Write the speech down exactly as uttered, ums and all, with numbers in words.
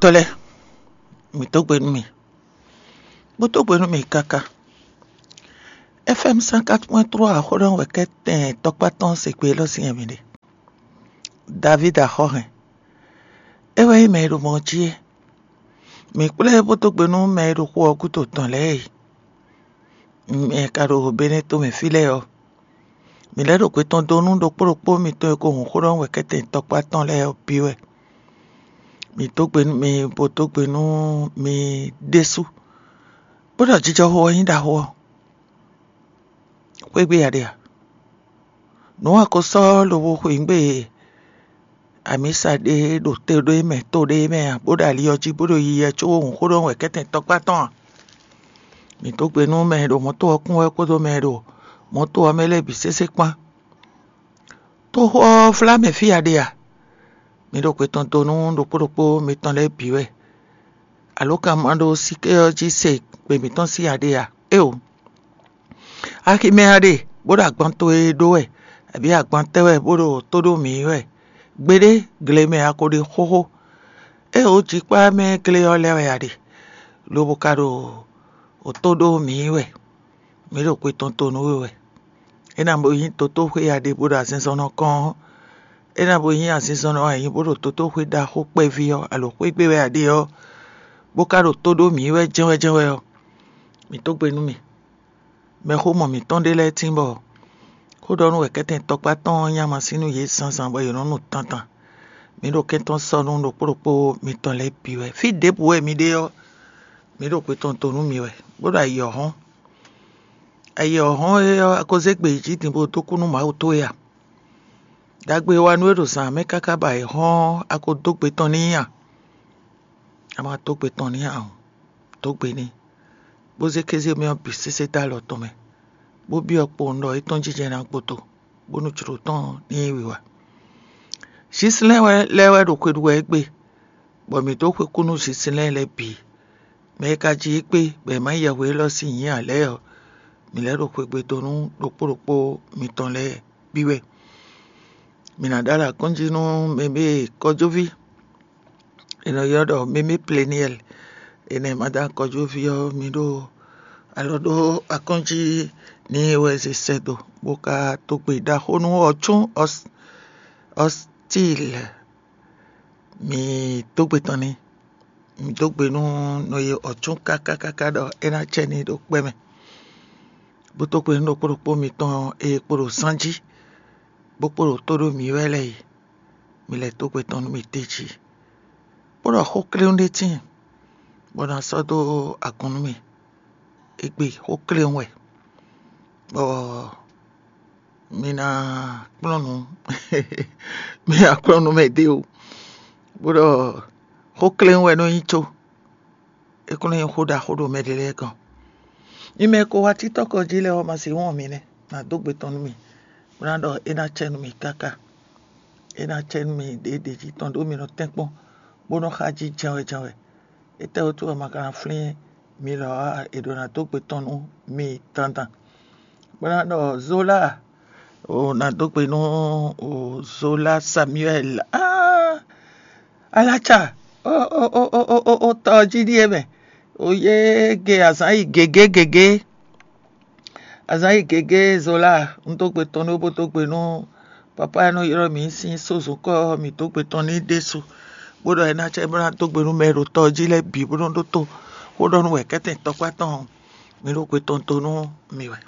Tɔ́ lɛ́ɛ, mǐ dó gbe nú mì, bó dó gbe nú mì káká. F M cent quatre point trois xó ɖɔ wɛ kɛ́tɛn tɔkpá tɔn se gbe élɔ́ sín wɛ mǐ ɖe. Davídi axɔ́hɛn, é wɛ nyí mɛ e ɖo mɔ jí é. Mǐ kplé bó dó gbe nú mɛ e ɖo xó ɔ́ gúdo tɔn lɛ́ɛ e. Mɛ e ka ɖo Benɛ́ tomɛ fí lɛ́ɛ ɔ́, mǐ lɛ́ ɖo gbe tɔn dó nú ɖokpó ɖokpó mitɔn e ko hun xó ɖɔ wɛ kɛ́tɛn tɔkpá tɔn lɛ́ɛ ɔ́ bǐ wɛ. Mǐ dó gbe nú mi, bó dó gbe nú mi ɖésú, bó ɖɔ jijɔxo ɔ́ nyí ɖaxó ɔ́. Xwé gbe a ɖe a? Nǔ a ko sɔ́ lobo xweyǐgbe amǐsa ɖé ɖo te ɖé mɛ, to ɖé mɛ a, bó ɖo ali ɔ́ jí, bó ɖo yiyi wɛ có hun xó ɖɔ wɛ kɛ́tɛn tɔkpá tɔn a? Mǐ dó gbe nú mɛ e ɖo mɔ̌to ɔ́ kún wɛ kpódó mɛ e ɖo mɔ̌to ɔ́ mɛ lɛ́ɛ bǐ sésé kpán. Toxo ɔ́ vlá mɛ fí a ɖe a? Mi ɖo xwe tɔn dó nú ɖokpó ɖokpó mitɔn lɛ́ɛ bǐ wɛ. Alǒkanmaɖósíké ɔ́ jí se gbe mǐtɔn sín a ɖe a? Éeǒ! Aximɛ a ɖe, bó ɖo agban towe ɖó wɛ, abǐ agban tɛ́ wɛ bó ɖo tó ɖó mǐ wɛ? Gbeɖé, gle mɛ a ko ɖe xóxó. Éeǒ! Jikpá mɛ glé ɔ́ lɛ́ɛ wɛ a ɖe, lobo ka ɖo tó ɖó mǐ wɛ. Mǐ ɖo xwe tɔn to nú we wɛ. É ná bo nyí dotóxwé a ɖe bó ɖo azinzɔnnɔ kɔn ɔ́, é ná bo nyí azinzɔnnɔ a nyǐ bó ɖo dotóxwé ɖaxó kpɛví ɔ́, alo xwé gbe wɛ a ɖe ɔ́, bó ka ɖo tó ɖó mǐ wɛ jɛ́nwɛ́jɛ́nwɛ́ ɔ́, mǐ dó gbe nú mì. Mɛxómɔ mǐtɔn ɖé lɛ́ɛ tín bɔ xó ɖɔ nú wɛ kɛ́tɛn tɔkpá tɔn ɔ́ nyí ama sín nú yě zǎnzǎn bɔ yě nɔ́ nu tantan. Mǐ ɖo kɛ́ntɔ́ sɔ́ nú ɖokpó ɖokpó mitɔn lɛ́ɛ bǐ wɛ. Fí ɖěbǔ wɛ mi ɖe ɔ́, mǐ ɖo xwe tɔn to nú mi wɛ, bó ɖo ayǐ ɔ́ hɔ́n. Ayǐ ɔ́ hɔ́n é ɔ́, a ko zé gbe yi jí din bó dó kú nú Mawu towe a? Ɖagbe e wa nú we ɖo zǎn mɛ káká ba è hɔ́n ɔ́, a ko dó gbe tɔn n'i a? A ma dó gbe tɔn n'i ǎ ɔ́, dó gbe n'i, bó zé kéze mɛ ɔ́ bǐ sésé dó alɔ tɔn mɛ, bó byɔ́ kpowun ɖɔ é tɔ́n jínjɛ́n ná gboto, bónú jlǒ tɔn ní nyí wiwa. Síslɛ́n wɛ lɛ́ɛ wɛ ɖo xwe ɖu wɛ égbé, bɔ mǐ dó xwe kú nú síslɛ́n lɛ́ɛ bǐ. Mɛ e ka ji égbé bɔ è ma nyí yɛhwe élɔ́ sín nyǐ ǎ lɛ́ɛ ɔ́, mǐ lɛ́ ɖo xwegbe dó nú ɖokpó ɖokpó mitɔn lɛ́ɛ bǐ wɛ. Mǐ ná ɖó alɔ akɔ́njí nú mɛ e kɔjúví è nɔ ylɔ́ ɖɔ mémé pleniɛl, è nɔ ma dó akɔjúví ɔ́, mi ɖó alɔ ɖó akɔ́njí ní wɛ zé sɛ́ dó, bó ka dó gbe ɖaxó nú ɔ́ cún ɔ́stil. Mi dó gbe tɔn n'i. Mi dó gbe nú nɔ e ɔ̌ cún káká káká ɖɔ é ná cɛ n'i ɖo kpɛ́ mɛ, bó dó gbe nú ɖokpó ɖokpó mitɔn e kpo ɖo zán jí, bó kpo ɖo tó ɖó mǐ wɛ lɛ́ɛ e. Mi lɛ́ dó gbe tɔn nú mì d'é jí, bó ɖɔ xó kléwún ɖé tíin, bó ná sɔ́ dó agun nú mì. Égbé xó kléwún wɛ, bɔ mi ná kplɔ́n nǔ mi ná kplɔ́n nǔ mɛ ɖé o, bó ɖɔ xó kléwún wɛ nɔ nyí có. É kún nyí xó ɖaxó ɖo mɛ ɖé lɛ́ɛ gɔ́n. Mi mɛ e ko wá títɔ́ kɔ jí lɛ́ɛ ɔ́, ma se wɔn mi nɛ́, nǎ dó gbe tɔn nú mi, bó ná ɖɔ é ná cɛ nú mi káká. É ná cɛ nú mi ɖěɖě jí tɔn ɖó mi nɔ tɛ́nkpɔ́n, bó nɔ xa jí jɛ́nwɛ jɛ́nwɛ. Étɛ́ wútu wɛ ma ka ná flín mi lɔ ǎ? È ɖǒ ná dó gbe tɔn nú mi dandan, bó ná ɖɔ Zola, o ná dó gbe nú o Zola Samuel. Aa, alaca o o o o o o tɔ jí ɖíe mɛ, o yé ge azǎn yi gěgé gěgé. Azǎn yi gěgé Zola, un dó gbe tɔn nú bó dó gbe nú papa e nɔ ylɔ́ mǐ sín sózokɔ ɔ́, mǐ dó gbe tɔn n'i ɖésú, bó ɖɔ é ná cɛ bó ná dó gbe nú mɛ e ɖo tɔ ɔ́ jí lɛ́ɛ bǐ bó nɔ́ ɖótó xó ɖɔ nú wɛ kɛ́tɛn tɔkpá tɔn ɔ́, mǐ ɖo gbe tɔn dó nú mi wɛ.